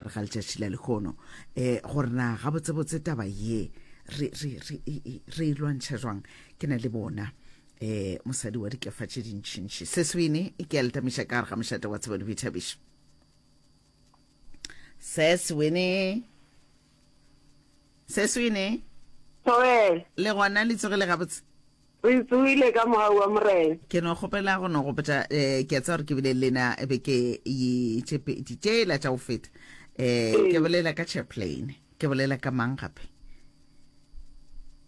gare ga letšatši la lehono um gore na gabotsebotse taba ye re, re, re, e, e, re e lwantšha jwang. Ke na le bona um mosadi wa dikefa tše dintšintši Seswini ke a le tamiša ka gare ga mošate wa tsebo le boithabišo. Seswini, Seswini. Thobela. Le gona le tsogile gabotse? Re tsogile ka mogau wa Morena. Ke no kgopela go no gopotša eh, ke a tseba gore ke bile le lena beke ye tše pedi tšela tša go feta. Eh, ke bolela ka chaplain, ke bolela ka mang gape?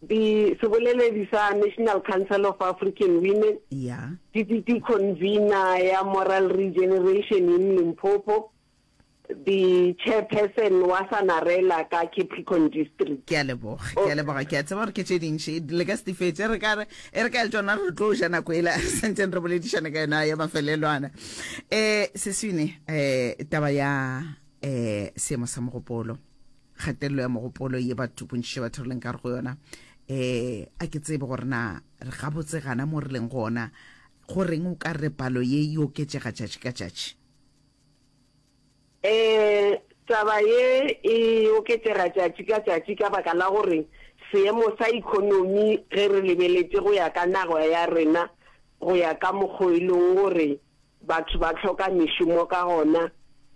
Di seboleledi sa National Council of African Women. Ya. Deputy convener ya Moral Regeneration in Limpopo. The chairperson wa Sanarela ka Capricorn District. Ke a leboga, ke a leboga. Ke a tseba gore ke tše dintši, le ka se di fetše. Re ka re, e re ka le tšona re tlo ja nako ela re santseng re boledišana ka yona ya mafelelwana. Um Seswini, um taba ya um seemo sa mogopolo, kgatelelo ya mogopolo ye batho bontši batho re leng ka re go yona, um a ke tsebe gore na re gabotse gana mo re leng gona, go reng o ka re palo ye e oketšega tšatši ka tšatši? Ee, taba ye e oketšega tšatši ka tšatši ka baka la gore seemo sa ekonomi ge re lebeletše go ya ka naga ya rena go ya ka mokgo e leng gore batho ba hloka mešomo ka gona,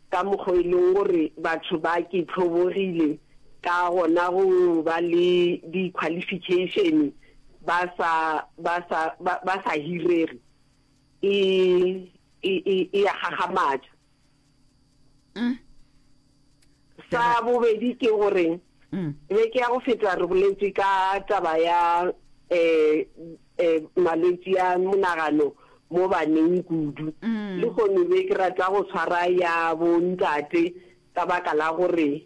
ka mokgo e leng gore batho ba ke hlobogile ka gona go ba le di-qualification ba sa ba sa ba sa hirege e e, e, e a gagamatša. Mm. Sa bobedi ke gore mm. beke ya go feta re boletše ka taba ya eh, eh, malwetši a monagano mo baneng kudu. Mm. Le kgono be ke rata go tshwara ya bontate ka baka la gore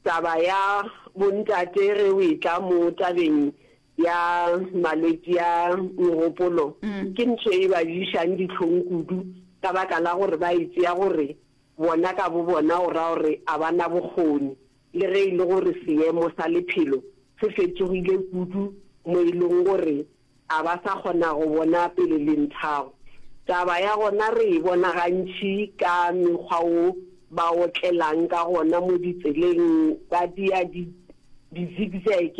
taba ya bontate ge o etla mo tabeng ya malwetši a megopolo ke ntho e ba ješang dihlong kudu ka baka la gore ba e tšea gore bona ka bobona go ra gore a ba na bokgoni le ge e le gore seemo sa lephelo se fetogile kudu mo e leng gore a ba sa kgona go bona pele le nthago. Taba ya gona re e bona gantši ka mekgwa wo ba otlelang ka gona mo ditseleng ba dia di di-zigzag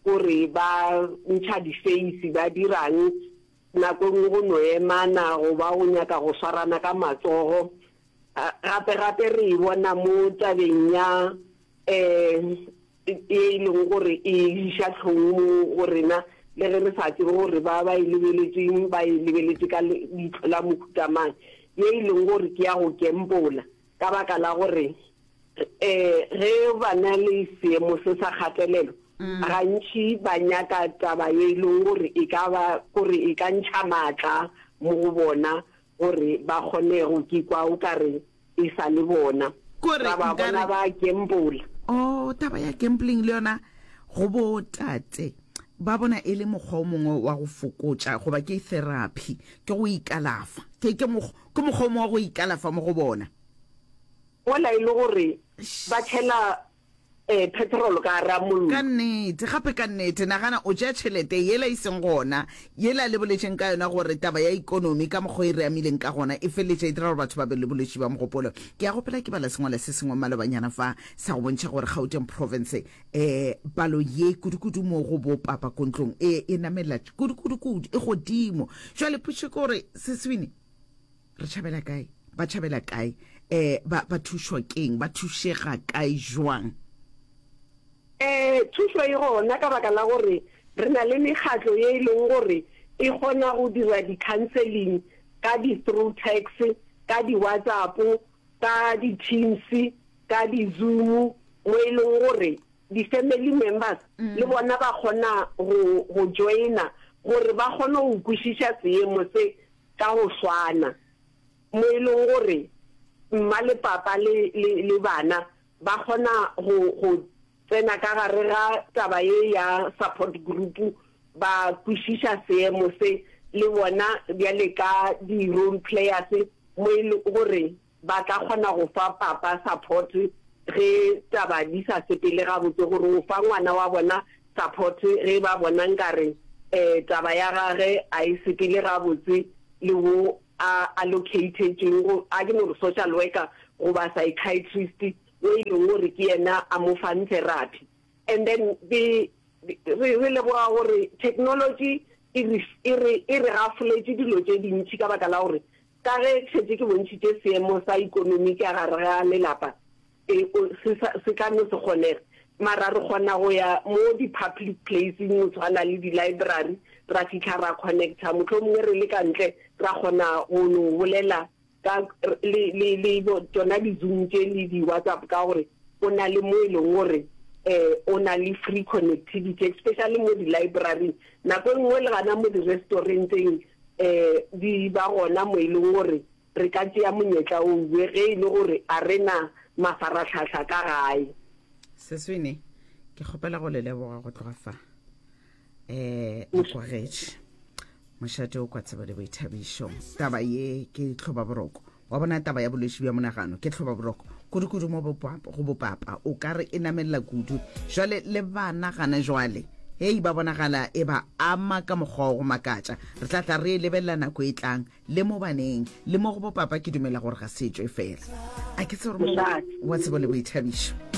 Gore ba ntšha difeisi, ba dirang, nako e nngwe go no emana goba go nyaka go swarana ka matsogo. Gape-gape re e bona mo tabeng ya um ye e leng gore e iša hlong mo go rena, le ge re sa tsebe gore ba ba e lebeletšeng ba e lebeletše ka leihlo la mohuta mang, ye e leng gore ke ya go kempola ka baka la gore Ge ba na le seemo se sa kgatelelo, gantši ba nyaka taba ye e leng gore e ka ba gore e ka ntšha maatla mo go bona gore ba kgone go kikwa o ka re e sa le bona. Kore Ra ba nkare. bona ba gambola. Oh, taba ya gambling le yona go bo tate ba bona e le mokgwa o mongwe wa go fokotša goba ke therapy, ke go ikalafa. Ke ke mokgwa o mongwe wa go ikalafa mo go bona. Mola e le gore ba tšhela petrol ka gara mollo. Ka nnete, gape ka nnete, nagana o tšea tšhelete yela e seng gona, yela le boletšeng ka yona gore taba ya ikonomi ka mokgwa e re amileng ka gona e feleletša e dira gore batho ba be le bolwetši bja mogopolo. Ke a gopola ke bala sengwala se sengwe malobanyana fa sa go bontšha gore Gauteng Province um palo ye kudu-kudu mo go bo papa ko ntlong e e namela kudu-kudu-kudu e godimo. Jwale potšišo ke gore Seswini, Re tšhabela kae? Ba tšhabela kae? Eh, ba, ba thušwa ke'ng? Ba thušega kae jwang? Eh, thušo e gona ka baka la gore re na le mekgatlo ye e leng gore e kgona go dira di-counselling ka di-through text, ka di-WhatsApp, ka di-Teams, ka di-Zoom, mo e leng gore di-family members le bona ba kgona go, go joina gore ba kgone go kwešiša seemo se ka go swana, mo e leng gore mma le papa le, le, le bana ba kgona go, go tsena ka gare ga taba ye ya support group, ba kwešiša seemo se le bona bjale ka di-role players, mo e lego gore ba tla kgona go fa papa support ge taba di sa sepele gabotse, gore o fa ngwana wa bona support ge ba bona nkare taba ya gage a e sepele gabotse le wo a allocatetšweng go, a ke no re social worker goba psychiatrist. o e leng gore ke yena a mo fang therapy. And then ke re re leboga gore technology e re e re e re gafoletše dilo tše dintši ka baka la gore ka ge ke šetše ke bontšhitše seemo sa ikonomi ka gare ga lelapa e o se sa se ka no se kgonege mara re kgona go ya mo di public placeng go tshwana le di library ra fihla ra connecta mohlomongwe re le ka ntle ra kgona go no bolela ka le le le tšona di zoom tše le di whatsapp ka gore o na le mo e leng gore eh o na le free connectivity especially mo di library nako e nngwe le gana mo di restauranteng eh di ba gona mo e leng gore re ka tšea monyetla o we ge e le gore a re na mafarahlahla ka gae. Seswene, ke kgopela go le leboga go tloga fa. Eh, le kwagetše. Mošate o kwa tsebo le boithabišo. Taba ye ke tlhobaboroko. Wa bona taba ya bolwetši bja monagano ke tlhobaboroko. Kudu-kudu mo go bopapa o ka re e namelela kudu. Jwale le bana gana jwale hei ba bonagala e ba ama ka mokgwa wa go makatša. Re tla tla re e lebelela nako e tlang le mo baneng le mo go bopapa ke dumela gore ga se tšwe fela. A ke tsebe gore mo wa tsebo le boithabišo.